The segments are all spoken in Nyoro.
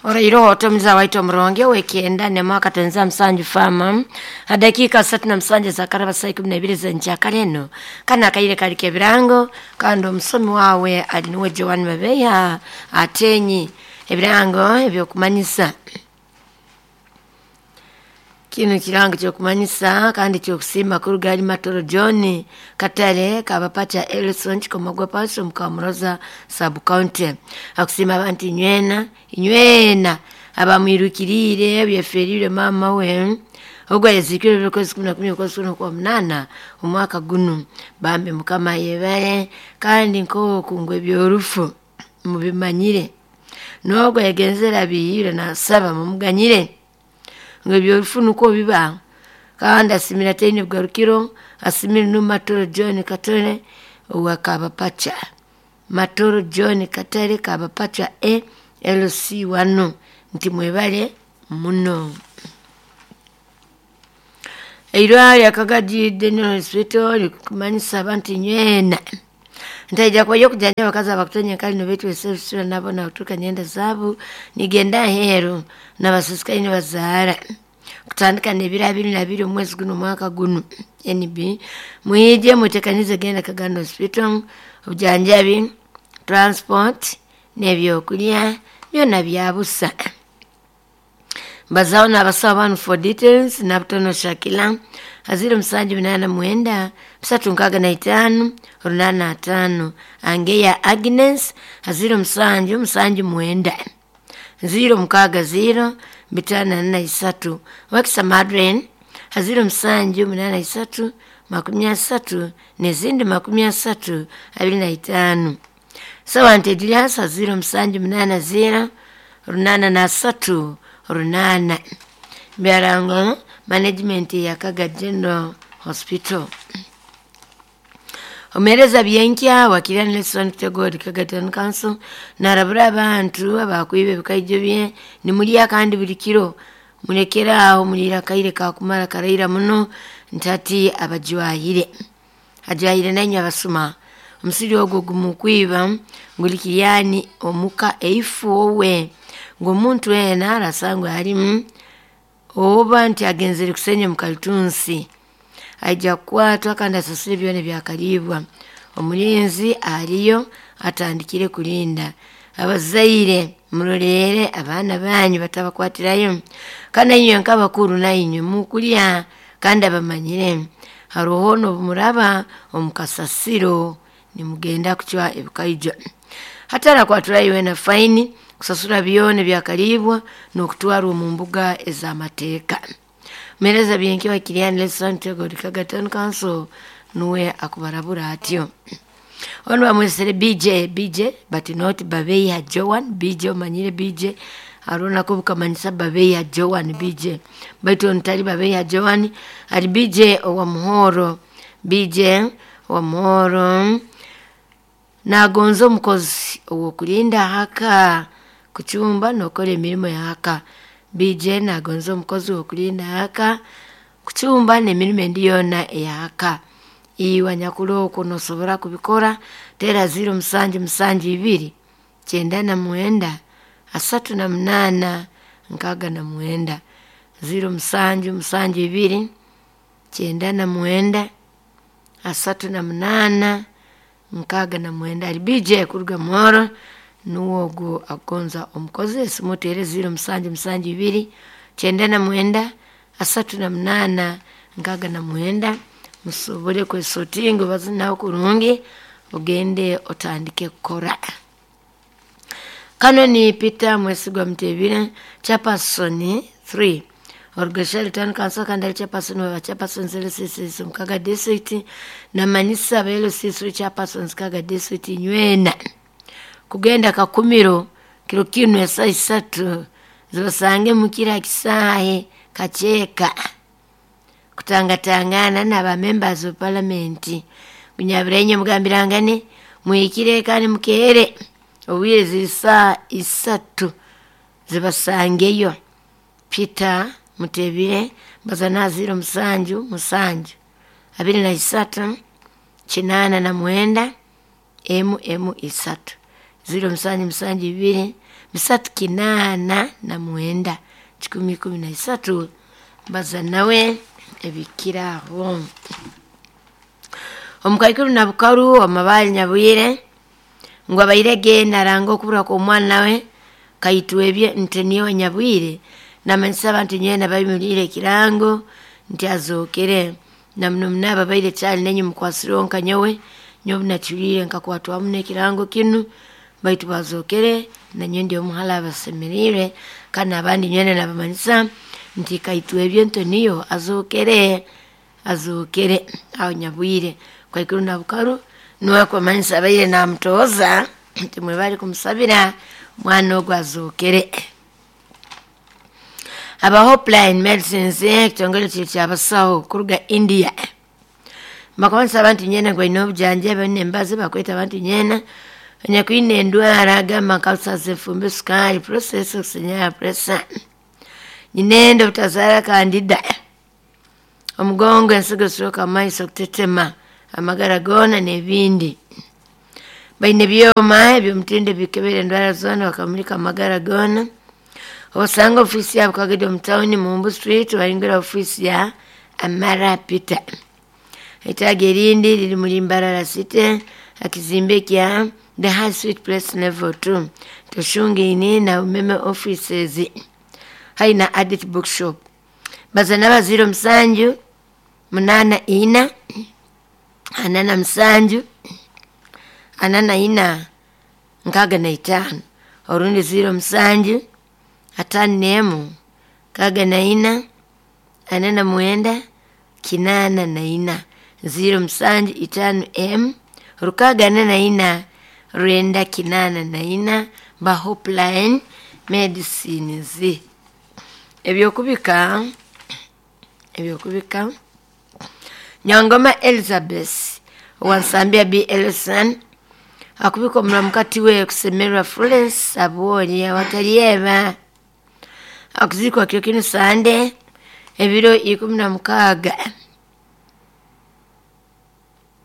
Orairoho otomiza waito omuronge wekenda nemwaka tenza msanju fama hadakika 37 za karaba saa 12 zenjakale eno kana akaire kali kebirango kandi omusomi wawe ali niwe Joan Mabeya atenyi ebirango ebyokumanyisa. Kino kirango kyokumanyisa kandi kyokusiima kuruga ali Matoro John Katale kabapacha Elson Chikomogwa Paso Mukamuroza sub county akusima abantu inywena inywena abamwirukirire byeferire mama we ogwo yazikire bikozi 11 kwezi kwa munana omwaka guno. Bambi mukama yebale kandi nk'okungwe ebyorufu mubimanyire n'ogwo yagenzera biyire nasaba mumuganyire ngo ebyorufu nuko biba. Kandi asimira teni bugarukiro asimira no Matoro John Katale owa Kabapacha Matoro John Katale Kabapacha e LC 1 nti mwebale muno. Eirwaliro Kagadi General Hospital likumanyisa abantu nywena ntaija kwayo kujanja abakazi abakutonya kali nobetu esebisura nabo na kutuka nyenda zabu nigenda heru nabasisikaine bazaara kutandika nebiro 22 omwezi guno mwaka guno NB mwije mutekanize genda Kagando Hospital obujanjabi transport n'ebyokulya byona byabusa. Bazao na abasawo banu for details Nabutono Shakila aziro 789 365 85 Angeya Agnes aziro 779 060 543 Wakisa Madren aziro 783 30 nezindi 30 25 Sawante Elias aziro 780 83 8 Byarango management ya Kaga General Hospital. Omereza byenkya wakira Nelson Tegori Kaga Town Council narabura abantu abakwibe ebikaijo bye nimulya kandi buli kiro mulekera aho mulira kaire kakumara karaira muno ntati abajwahire ajwahire nanywa abasuma omusiri ogwo gumukwiba ngulikiyani omuka eifu owe ng'omuntu ena arasangwa alimu oba nti agenzere kusenya mukaltunsi aija kukwatwa kandi asasule byona byakalibwa. Omulinzi aliyo atandikire kulinda abazaire murorere abaana banyu batabakwatirayo kandi inywe nk'abakuru nainywe mukulya kandi abamanyire haroho n'obumuraba omukasasiro nimugenda kucwa ebikaijo hatarakwaturayo wena faini kusasura byona byakalibwa n'okutwarwa omu mbuga ez'amateeka. Mereza byenki wakiriani Nelson Tegori Kaga Town Council nuwe akubarabura atyo. Ono bamwesere BJ BJ but not Babeya Joan BJ omanyire BJ arona ko bukamanyisa Babeya Joan BJ baitu ntali Babeya Joan ali BJ owa Muhoro BJ owa Muhoro nagonza omukozi owokulinda haka kuchumba nokora emirimo yaka. BJ nagonza omukozi wokulinda haka kuchumba n'emirimo endi yona eyaka. Iwe nyakulu okwo nosobora kubikora tera 0772 99 38 69 0772 99 38 69 ali BJ kuruga Muhoro nuwo agonza omukozi esimutere 0772 99 38 69 musobole kwesotinga bazinaho kurungi ogende otandike kukora. Kano ni Peter Mwesigwa Mtebire chairperson 3 Orgashali Town Council kandi ali chairperson wa chairperson LCC Mukaga District na manisa ba LCC chairperson Kaga District nywena kugenda kakumiro kiro kino ya 3 zibasange mukira kisahe kacheka kutangatangana n'aba members of parliament kunyabirenye mugambirangane muikire kandi mukere obwire zisa 3 zibasangeyo. Peter Mutebire bazana 07 7 23 89 MM 3 0772 389 113 baza nawe ebikiraho. Omukaikuru na bukaru amabali Nyabwire ngu abairege naranga okubura kw'omwana we Kaitwebye Nteniwe Nyabwire, namanyisa abantu nywena babimuliire ekirango nti azookere, na muno muno ababaire kyali nenye mukwasireho nka nyowe, nyowe nakihuliire nkakwatwamu n'ekirango kinu, baitu bazookere nanyowe ndi omuhara abasemeriire, kandi n'abandi nywena nabamanyisa nti Kaitwebye Ntoniyo azookere, azookere aho Nyabwire. Kaikuru na bukaru nuwe akumanyisa abaire namutooza nti mwebale kumusabira mwana ogu azookere. Aba Hopeline Medicines, ekitongole kiri kyabasaho kuruga India, bakumanyisa abantu nyena ngu baine obujanjabi baine embazi bakweta abantu nyena anyakwine endwara agamba nka ulcers, enfumbi, sukaali, process, okusinyara, pressure, nyinenda obutazaara kandida, omugongo, ensigo, stroke, amaiso okutetema, amagara goona n'ebindi. Baine ebyoma eby'omutindo ebikebera endwara zoona bakamulika amagara goona. Obasanga ofiisi yabo Kagedi omu tawuni Mumbu Street, bayingira ofiisi ya Amara Peter. Etaagi erindi riri muri Mbarara City akizimbe kya The High Street Place Level 2 Toshungaine na Umeme offices hari na Adit Bookshop. Baza naba 07 84 47 44 65 orundi 07 51 64 49 84 07 5 M 64 984 ba Hopeline Medicines. Ebyokubika Nyangoma Elizabeth owansambya B. Ellison akubika omuramukati we kusemerwa Florence Abwoli awatalieba akuzikwa kyo kinu Sande ebiro 16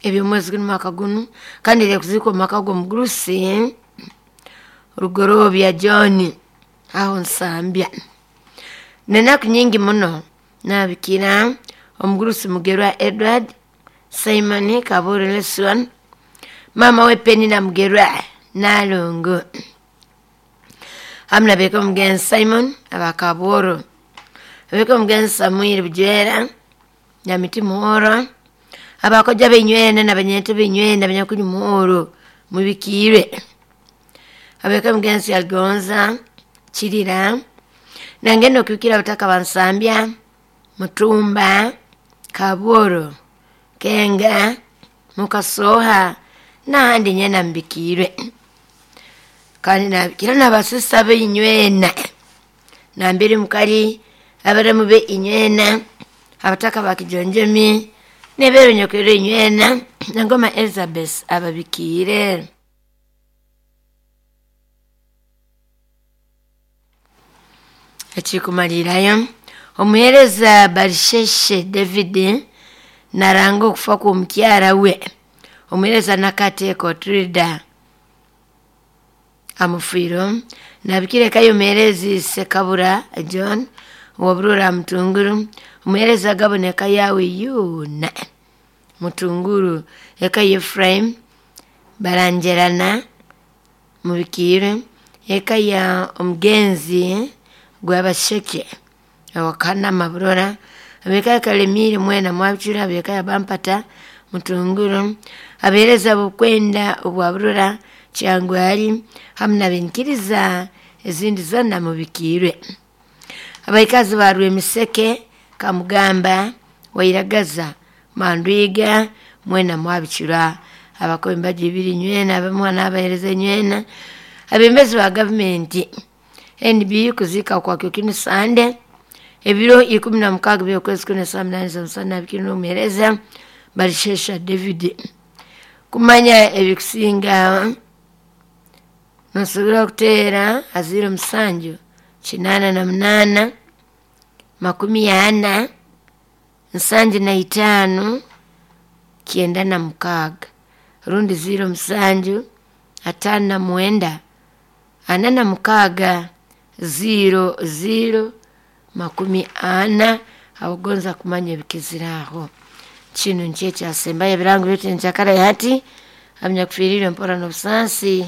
eby'omwezi guno mwaka guno, kandi eri kuzikwa omumaka g'omugurusi Rugorobya John aho Nsambya. Nenaku nyingi muno nabikira omugurusi Mugerwa Edward Simon Kaburu Lesson, mama we Penina Mugerwa Nalongo, hamu nabeka omugenzi Simon abakaboro, abeka omugenzi Samuel Bujwera Nyamiti Muhoro, abakoja benywena nabanyente benywena banyakuli muhoro mubikiire, abeka omugenzi Algonza Kirira, nangenda okubikira abataka bansambya Mutumba Kabworo Kenga Mukasoha n'ahandi nyena mbikiirwe. Kandi nabikira n'abasista b'inywena nambere mukali abaramu be inywena abataka bakijonjomi nebero nyokwero inywena nangoma Elizabeth ababikiire. Ekikumalirayo omuheereza Barisheshe David naranga okufa kw'omukyara we omuheereza Nakateeko Trida amufiiro, nabikirekayo omuheerezi Sekabura John owaburura Mutunguru, omuheereza Gaboneka yawe yoona Mutunguru, eka Ephraim Barangerana mubikiire, eka ya omugenzi Gwabasheke Awakanama Burora, abeka ya Kalemire mwena mwabicura, abeka ya Bampata Mutunguru, abeereza bukwenda obwa Burora Kyangwali hamu nabenkiriza ezindi zona mubikiirwe. Abaikazi ba Rwemiseke Kamugamba Wairagaza Mandwiga mwena mwabicura, abakobi embaji ibiri nywena abamwana abahereza nywena, abembezi ba gavumenti NB kuzika kwa kino Sande ebiro 16 by'okwezi kuno saa 8 z'omusana bikiri n'omuheereza Barishesha David. Kumanya ebikusinga nosobora kuteera 07 88 40 75 96 rundi 07 59 46 00 40 abagonza kumanya ebikiziraho. Kinu nikyo ekyasembayo ebirango byaitu enkyakara hati abanyakufiiriirwe mpora n'obusaasi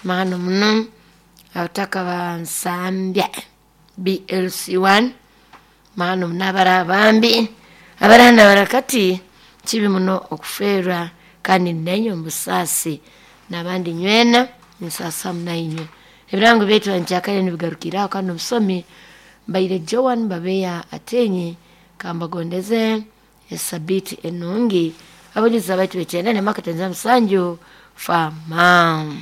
mahano muno abataka ba Nsambya BLC1 mahano muno abara bambi abarana barakati kibi muno okufeerwa kandi nainywe omu busaasi n'abandi nywena ninsaasa nainywe. Ebirango byaitu enkyakara nibigarukiraho kandi omusomi mbaire Joan Babeya Atenyi kambagondeze esabiiti enungi abajulizi abaitu bekyenda nemaka 77 fama.